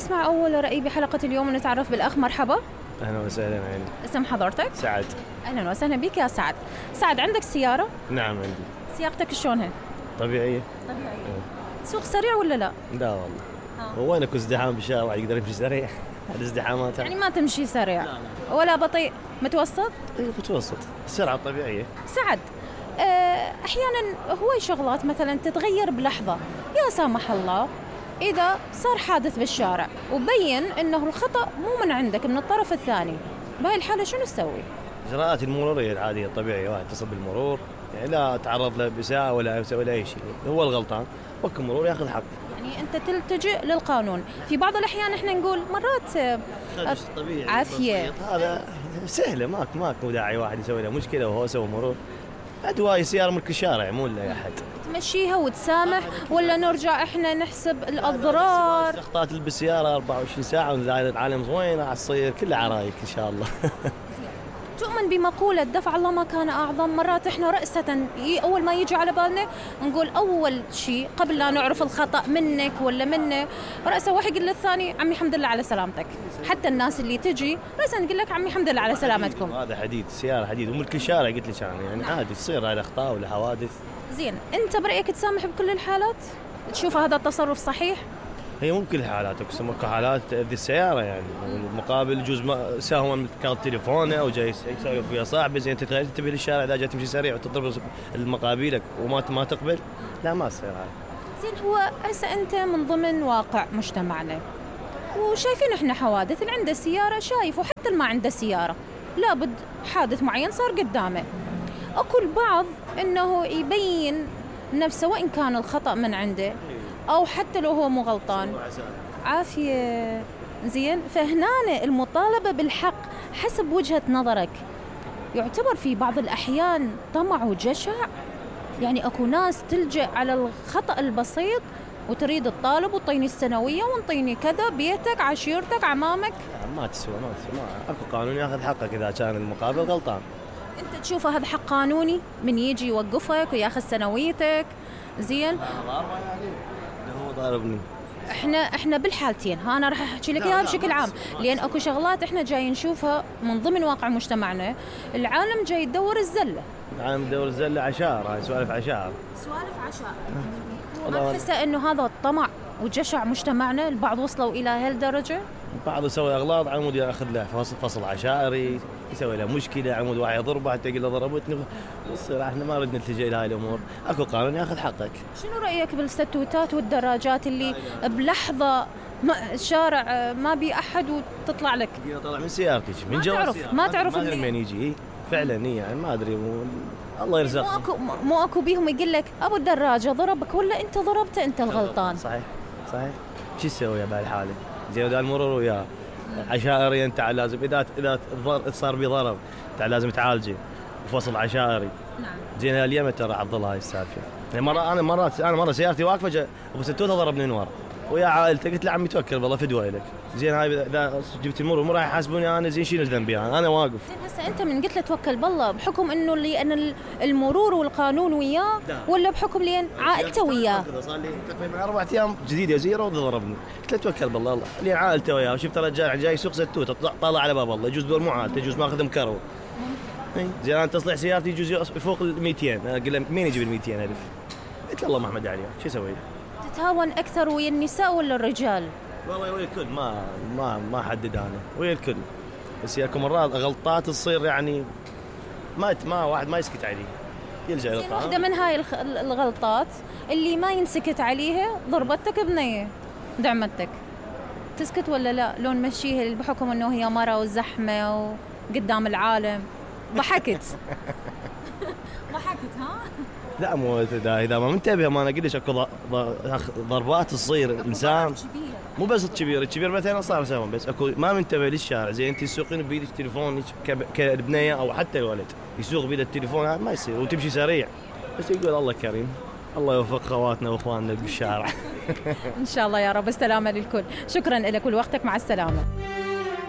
نسمع أول رأي بحلقة اليوم ونتعرف بالأخ. مرحبا. أهلا وسهلا عيني. اسم حضرتك؟ سعد. أهلا وسهلا بك يا سعد. سعد، عندك سيارة؟ نعم عندي. سياقتك شلونها؟ طبيعية. تسوق سريع ولا لا؟ لا والله. هو وين اكو ازدحام بالشارع يقدر يمشي سريع؟ الازدحامات يعني ما تمشي سريع؟ لا. ولا بطيء؟ متوسط؟ اي متوسط، السرعة الطبيعية. سعد، أحيانا هواي شغلات مثلا تتغير بلحظة، يا سامح الله إذا صار حادث بالشارع وبين إنه الخطأ مو من عندك، من الطرف الثاني، بهاي الحالة شنو تسوي؟ إجراءات المرورية العادية الطبيعية، واحد يتصل بالمرور، يعني لا تعرض له بإساءة ولا أي شيء، هو الغلطان، وقت المرور ياخذ حقه. يعني أنت تلتجئ للقانون. في بعض الأحيان إحنا نقول مرات طبيعي عافية، هذا سهلة، ماكو داعي واحد يسوي له مشكلة وهو سوى مرور. أدواء سيارة ملك الشارع مو لأي أحد. تمشيها وتسامح ولا نرجع إحنا نحسب الأضرار؟ أخطاء بالسيارة 24 ساعة والعالم وين راح تصير كلها عرايك إن شاء الله. تؤمن بمقولة دفع الله ما كان أعظم؟ مرات إحنا رأسة أول ما يجي على بالنا نقول أول شيء قبل لا نعرف الخطأ منك ولا منه، رأسه واحد يقول للثاني عمي الحمد لله على سلامتك. حتى الناس اللي تجي رأسا نقول لك عمي الحمد لله على سلامتكم. هذا حديد، السيارة حديد وملك الشارع قلت لك يعني عادي تصير هذه أخطاء ولا حوادث. زين، أنت برأيك تسامح بكل الحالات؟ تشوف هذا التصرف صحيح؟ هي مو بكل الحالات، اكو حالات تأذي السيارة يعني، المقابل يجوز ساهوا من كارت تليفونه او جاي يسولف ويا صاحبه، زين تنتبه للشارع اذا جاي تمشي سريع وتضرب المقابلك وما تقبل، لا ما تصير هاي. زين، هو هسه انت من ضمن واقع مجتمعنا وشايفين احنا حوادث، اللي عنده سيارة شايف، وحتى اللي ما عنده سيارة لابد حادث معين صار قدامه. اكو البعض انه يبين نفسه وإن كان الخطأ من عنده أو حتى لو هو مو غلطان. عافية. زين، فهنا المطالبة بالحق حسب وجهة نظرك يعتبر في بعض الأحيان طمع وجشع؟ يعني أكو ناس تلجأ على الخطأ البسيط وتريد الطالب وطيني السنوية ونطيني كذا، بيتك، عشيرتك، عمامك. ما تسوى أكو قانون ياخذ حقك إذا كان المقابل غلطان. أنت تشوف هذا حق قانوني من يجي يوقفك وياخذ سنويتك؟ زين، هو ضاربني. احنا بالحالتين، انا راح احكي لك اياها بشكل عام، لان اكو شغلات احنا جاي نشوفها من ضمن واقع مجتمعنا. العالم جاي يدور الزله، العالم يدور الزله، عشار، هاي سوالف عشار. ما تحس انه هذا الطمع وجشع مجتمعنا؟ البعض وصلوا الى هالدرجه. بعض يسوي اغلاط، عمود ياخذ له فصل عشائري، يسوي له مشكله، عمود واحد يضربه حتى يقول له ضربتني. يصير احنا ما نريد نلتجئ الى هاي الامور، اكو قانون ياخذ حقك. شنو رايك بالستوتات والدراجات اللي بلحظه الشارع ما بي احد وتطلع لك؟ طلع من سيارتك من جوا ما تعرف من يجي. فعلا هي يعني ما ادري، الله يرزقك. مو اكو بيهم يقول لك ابو الدراجه ضربك ولا انت ضربته، انت الغلطان. صحيح. شو تسوي بهالحاله؟ زين، اذا المرور وياه عشائري، انت لازم اذا صار بي ضرب انت لازم تعالجه وفصل عشائري. نعم. زين، اليوم ترى عضل هاي السالفه. يعني مره سيارتي واقفه، ابو ستوته ضربني من ورا ويا عائلته، قلت له عمي توكل بالله فدوه لك. زين، هاي اذا جبت المرور مو راح يحاسبوني انا، زين شيل ذنبي انا واقف. زين، هسه انت من قلت له توكل بالله بحكم انه لان المرور والقانون وياه، ولا بحكم لان عائلته وياه؟ صار لي تقريبا 4 ايام جديده زيرو ضربني، قلت له توكل بالله الله لان عائلته وياه، وشفت رجال جاي يسوق ستوته طالع على باب الله، يجوز دور مو عائلته، يجوز ماخذ مكرو. زين، انا تصليح سيارتي يجوز فوق ال 200، انا اقول له مين يجيب ال 200,000؟ قلت له الله محمد عليه، شو اسوي؟ تتهاون اكثر ويا النساء ولا الرجال؟ والله ويا الكل، ما حدد انا، ويا الكل. بس ياكو مرات غلطات تصير يعني ما واحد ما يسكت عليه، يلجأ الى القانون. واحده من هاي الغلطات اللي ما ينسكت عليها، ضربتك بنيه، دعمتك، تسكت ولا لا؟ لو نمشيها بحكم انه هي مرة وزحمه وقدام العالم، ضحكت. ضحكت ها؟ لا، مو اذا ما منتبه، ما انا قلت اكو ضربات تصير الانسان، مو بس الكبير مثلا صار سوا، بس اكو ما منتبه للشارع. زين، انت تسوقين بيدك تليفون كالبنيه او حتى الولد يسوق بيده التليفون، هذا ما يصير، وتمشي سريع، بس يقول الله كريم، الله يوفق خواتنا واخواننا بالشارع. ان شاء الله يا رب. السلامه للكل. شكرا لك ولوقتك، مع السلامه.